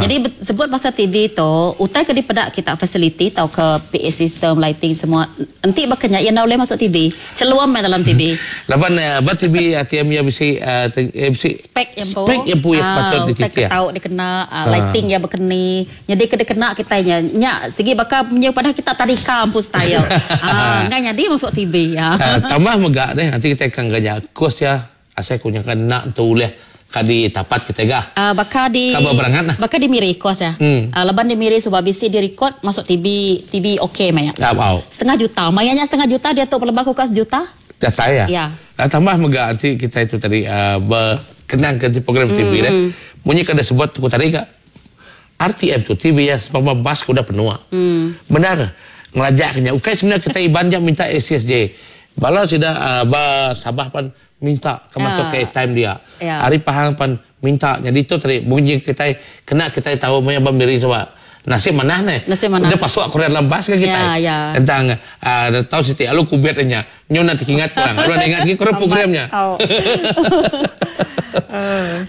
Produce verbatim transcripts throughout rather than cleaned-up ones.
Jadi sebut pasal T V tu, utai ke dipedak kita facility atau ke P A system, lighting semua. Enti bakanya ia boleh masuk T V. Celuam main dalam T V. Laban uh, ba T V R T M ya bisi uh, bisi spek yang spek yang pu yang patut utai dititiah. Ke tau dikena uh, lighting yang berkeni. Jadi ke dikena kita nya nya segi bakal punya pada kita tadika ampun style. Ah, enggak jadi masuk T V ya. Uh, tambah mega deh, nanti kita akan gaya kos ya asal kunya kan nak tu uleh kadi tapat kita gah. Uh, bakal di Kabar berangat lah. Bakal di Miri kos ya. Hmm. Uh, leban di Miri sebab bisi di record masuk T V T V okey maya. Ya, wow. Setengah juta. Mayanya setengah juta dia tu pelebah kukas juta. Data ya. Ya. Uh, tambah mega nanti kita itu tadi uh, berkenang ke program T V deh. Munyi kada sebut tu tadi kak. R T M tu T V ya sebab bas udah penuh. Hmm. Benar. Ngelajak kenya. Ukai sebenarnya kita iban jam minta A C S J. Bala sida uh, ba Sabah pan minta ke masuk Ya. ke airtime dia. Ya. Hari Pahang pan minta. Jadi itu tadi bunyi kita kena kita tahu maya bamiri sebab nasib mana nih. Nasib mana. Dia pasuk aku dalam bas ke kita. Ya, ya. Tentang uh, tahu siti alu kubet nya. Nyo nanti ingat kurang. Kurang ingat lagi kurang programnya. Oh.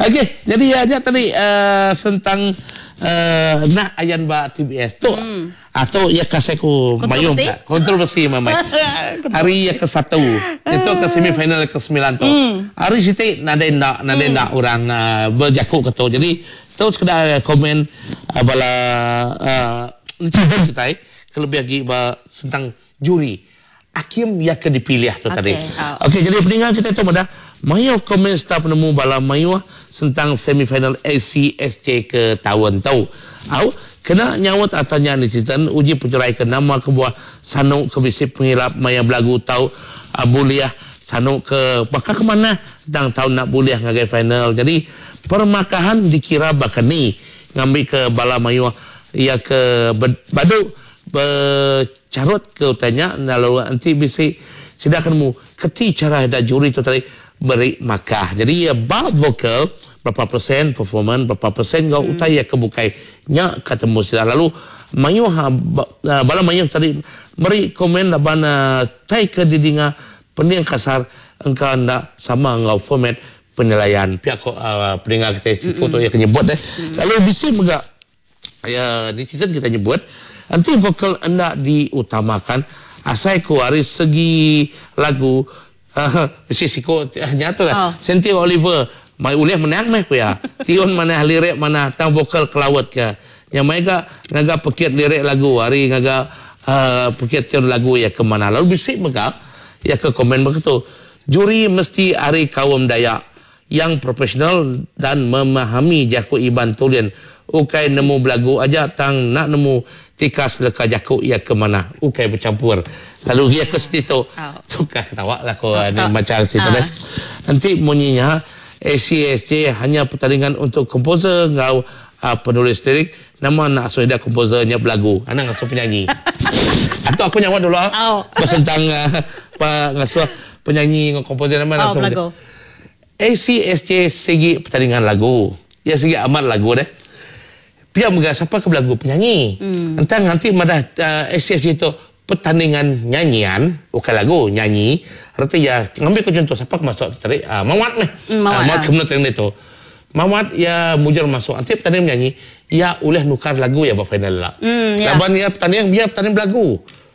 Okey, jadi ya aja tadi uh, tentang uh, nak ayan ba T B S tu. Hmm. Atau ya kasih ku mayung Kontroversi? ka. Kontroversi mamai. Hari yang ke satu itu ke semifinal ke sembilan tu. Hmm. Hari siti nadai nak nadai nak orang uh, berjakuk ke tu. Jadi tu sekedar komen uh, bala uh, kita kelebih lagi ba tentang juri. Hakim yang ke dipilih tu Okey, tadi. oh. Okey, jadi pendengar kita tu pada mayu komen serta penemu bala mayu tentang semifinal A C S J ke tahun tu. Au, kena nyawat atanya netizen uji pencerai ke nama ke buah sanu ke bisi pengilap maya belagu tau uh, buliah sanu ke bakal ke mana tentang tahun nak buliah ngagai final. Jadi permakahan dikira bakal ni ngambil ke bala mayu ya ke badu bercarut ke utanya lalu nanti bisi sidakan mu keti cara dah juri tu tadi beri makah. Jadi ya bab vokal berapa persen performance berapa persen kau hmm. utai ya kebukai nya ketemu sida lalu mayu ha, ba, bala mayu tadi beri komen laban uh, tai ke didinga pening kasar engkau ndak sama ngau format penilaian pihak uh, pendengar kita mm -hmm. tu yang nyebut deh. Lalu bisi mega ya netizen kita nyebut nanti vokal hendak diutamakan asai ku hari segi lagu uh, bisi siko nyata lah Oh. Senti Oliver mai ulih menang meh ku ya tiun mana lirik mana tang vokal kelawat ke yang mai ga ngaga pekit lirik lagu hari ngaga uh, pekit tiun lagu ya ke mana. Lalu bisi mega ya ke komen begitu juri mesti hari kaum Dayak yang profesional dan memahami jaku Iban tulian ukai nemu belagu aja tang nak nemu tikas leka jaku ya ke mana ukai bercampur lalu dia ke situ Oh. tukar ketawa lah ko Oh, ni oh. baca situ Ah. deh. Nanti bunyinya A C S J hanya pertandingan untuk komposer ngau uh, penulis lirik nama nak asuh dia komposernya belagu anak ngasuh penyanyi atau aku nyawa dulu ah. Oh. Tentang uh, pa ngasuh penyanyi ngau komposer nama Oh, ngasuh belagu. A C S J segi pertandingan lagu. Ya segi amat lagu deh. Pihak mega siapa ke belagu penyanyi. Hmm. Entah nanti madah uh, A C S J itu pertandingan nyanyian, bukan lagu, nyanyi. Arti ya, ngambil ke contoh siapa ke masuk tadi, uh, Mawat nih. Hmm, Mawat, Uh, Mawat ah. ke mana itu. Mawat ya mujur masuk. Nanti pertandingan menyanyi, ya uleh nukar lagu ya buat final lah. Hmm, ya. Laban ya pertandingan biar pertandingan belagu.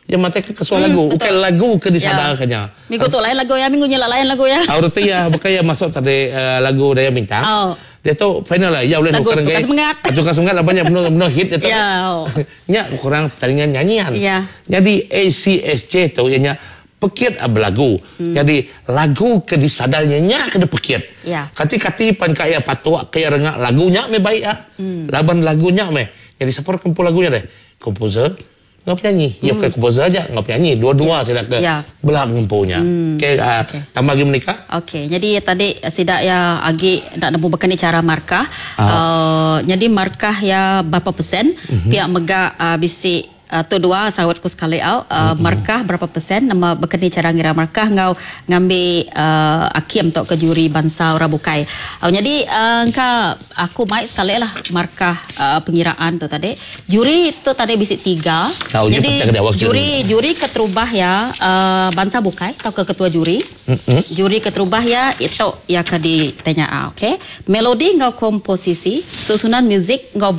Ya mata ke kesuah Hmm, lagu, betul. bukan lagu ke disadarkannya. Minggu tu lain lagu ya, minggu nyela lain lagu ya. Arti ya bukan ya masuk tadi uh, lagu Daya Bintang. Oh. Dia tu final lah. Ya boleh Lagu nukar Tukar Semangat. Tukar semangat lah banyak benar benar hit dia tu. Ya. Oh. Nya kurang pertandingan nyanyian. Ya. Jadi A C S J tu ianya pekit belagu. Hmm. Jadi lagu ke disadarnya nya kena pekit. Ya. Kati-kati pan kaya patuk kaya rengak lagunya me baik ah. Hmm. Laban lagunya me. Jadi siapa kumpul lagunya deh? Komposer ngau penyanyi. Ya bukan komposer aja, ngau penyanyi. Dua-dua saya ke Ya. belah ngumpulnya. Hmm. Okey, uh, Okey. tambah lagi menikah. Okey, jadi tadi sidak ya agi nak nemu bekani cara markah. Ah. Uh, jadi markah ya berapa persen? Mhm. Pihak mega uh, bisi uh, tu dua sawat ku sekali au uh, Mhm. markah berapa persen nama bekani cara ngira markah ngau ngambil uh, akim tok ke juri bangsa orang bukai. Uh, jadi uh, engka aku mai sekali lah markah uh, pengiraan tu tadi. Juri tu tadi bisi tiga. Kau je Jadi petang ke awak juri juri keterubah ya uh, bangsa bukai atau ke ketua juri. Mm-mm. Juri keterubah ya itu ya ke ditanya ah, okey. Melodi ngau komposisi, susunan muzik ngau